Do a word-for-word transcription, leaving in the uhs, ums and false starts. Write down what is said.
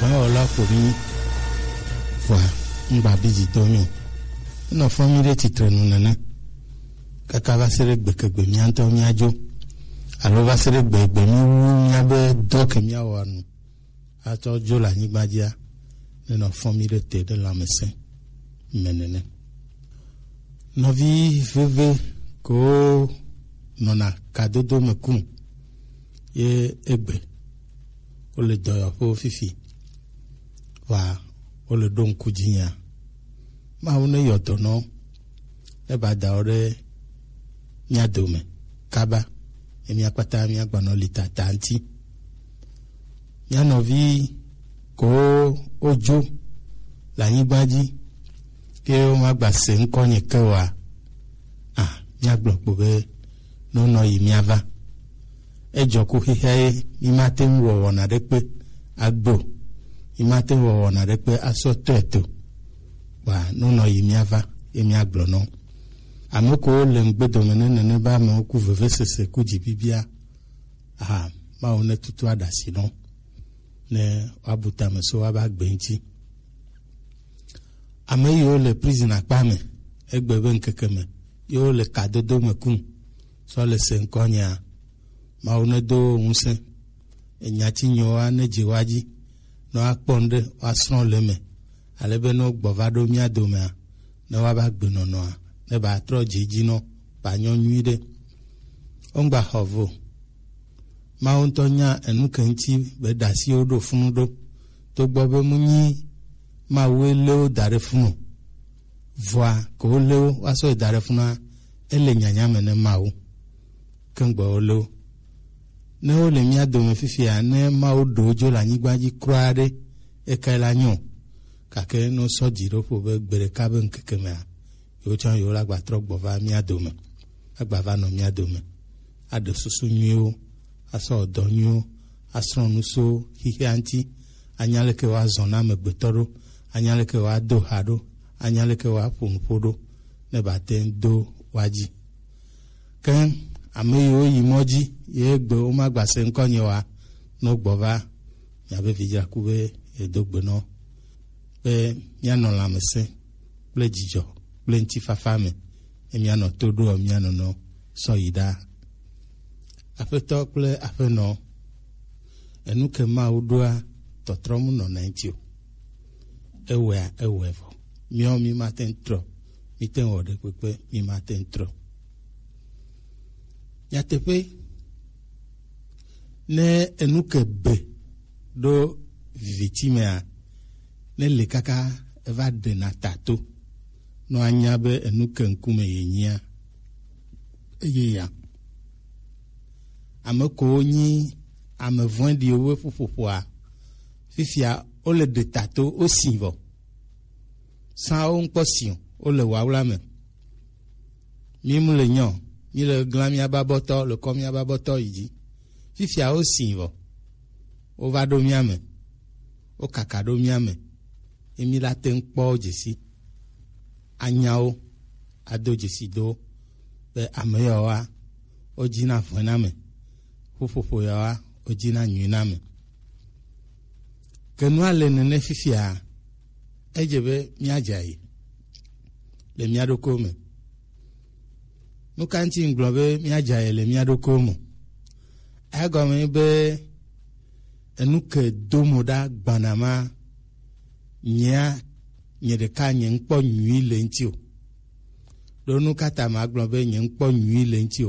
Dɔwɔla ko mi vɔa ŋgba bi dzi dɔ mi o. Enɔ fɔ mi ɖe titre nu nene. Kaka va se ɖe gbekegbe mía ŋutɔ míadzo. Alo va se ɖe gbegbe míwu míabe dɔ ke míawɔa nu. Atsɔ dzo le anyigba dzia. Nenɔ fɔ mi ɖe te ɖe lãmesẽ me nene. Nɔvi veve ko nɔna kadodo me kum ye egbe. Wole dɔyɔƒewo fifi. Wa wole ɖo ŋku dzinyea. Mawu ne yɔ dɔnɔ ne ba da wo ɖe mía dome kaba. Ye mía kpata mía gbanɔ li tata ŋuti. Mía nɔvi ko wodzo le anyigba dzi ke womagba se ŋkɔnye ke oa, a, míagblɔ kpo be nonɔ yi míava. Edzɔ ku xexea ye mímate ŋu wɔ wɔna ɖekpe agbe o. Mímate ŋu wɔ wɔna ɖekpe asɔ tɔe to. Kpa nonɔ yi míava ye míagblɔ nɔ. Ame ko le ŋgbedome ne nene be amewo ku vevesese ku dzibibia. Aha, Mawu ne tutu aɖasi nɔ. Ne woabu tame so woaba gbe ŋuti. Ame yiwo le prison akpa me, egbe be ŋkeke me, yiwo le kadodo me kum, sɔ le se ŋkɔnyea, Mawu nedo wo ŋusẽ. Enya ci nyowa ne dzi wa dzi, ne woakpɔ nu ɖe, woasrɔ̃ le eme, ale be ne wogbɔ va ɖo mía domea, ne woava gbenɔnɔa, ne ba trɔ dzi dzi nɔ, ba nyɔ nyui ɖe. Wongba xɔ vo. Mawu ŋutɔ nya enu ke ŋuti be ɖasiwo ɖo funu ɖo. Togbɔ be mu nyi Mawue lé wo da ɖe funu o. Vɔa ke wo lé wo, woasɔ yi da ɖe funua, ele nyanya me ne Mawu. Ke ŋgbe wo lé wo. Ne wole mía dome fifia, ne Mawu ɖe wo dzo le anyigba dzi kura ɖe, ekae la nyo. Gake ne wosɔ dzi ɖo ƒo be gbe ɖeka be ŋkeke mea, yewo tsã yewo la gba trɔ gbɔ va mía dome, agba va nɔ mía dome, aɖe susu nyuiwo, asɔ dɔ nyuiwo, asrɔ̃ nu so xixia ŋuti, anya leke woazɔ na amegbetɔ ɖo, anya leke woado ha ɖo, anya leke woaƒo nuƒo ɖo, ne ba te ŋu do woa dzi. Ke ame yiwo yi mɔ dzi ye gbe womagba se ŋkɔnye oa, ne wogbɔ va, miabe vidzraku be yedo gbe nɔ be míanɔ lãmesẽ kple dzidzɔ kple ŋutifafa me, ye míanɔ to ɖoa mía nɔnɔ sɔ yi ɖaa. Aƒetɔ kple aƒenɔ, enu ke Mawu ɖoa tɔtrɔm nɔna eŋuti o. Ewɔea, ewɔe vɔ. Míawo mímate ŋu trɔ, míte ŋu wɔ ɖekpekpe, mímate ŋu trɔ. Nyateƒe, ne enu ke be ɖo viviti mea, ne le kaka eva ɖena ta to, nɔ anya be enu ke ŋkume yenyia, eye ya. Ame kowo nyi ame vɔ̃ɖiwo ƒe ƒuƒoƒoa, fifia wole ɖe ta to, wosi vɔ. Sã wo ŋkpɔ si o, wole wawla me. Mí mu le nyɔ, mí le glã míabe abɔtɔ, le kɔ míabe abɔtɔ yi dzi. Fifia wo si vɔ. Wova ɖo mía me. Wo kaka ɖo mía me. Ye mí la te ŋu kpɔ wo dzesi. Anya wo, ado dzesi do wo be ame yawoa, wo dzi na vɔe na me. Ƒuƒoƒo yawoa, wo dzi na nyui na me. Ke nua le nene fifia, edze be míadze ayi le mía ɖokuiwo me. Nu ka ŋuti ŋgblɔ be míadze ayi le mía ɖokuiwo me? Egɔme be enu ke do mo ɖa gbana ma, nyea, nye ɖeka nye ŋkpɔ nyui le ŋuti o. Ɖo nu ka ta magblɔ be nye ŋkpɔ nyui le ŋuti o?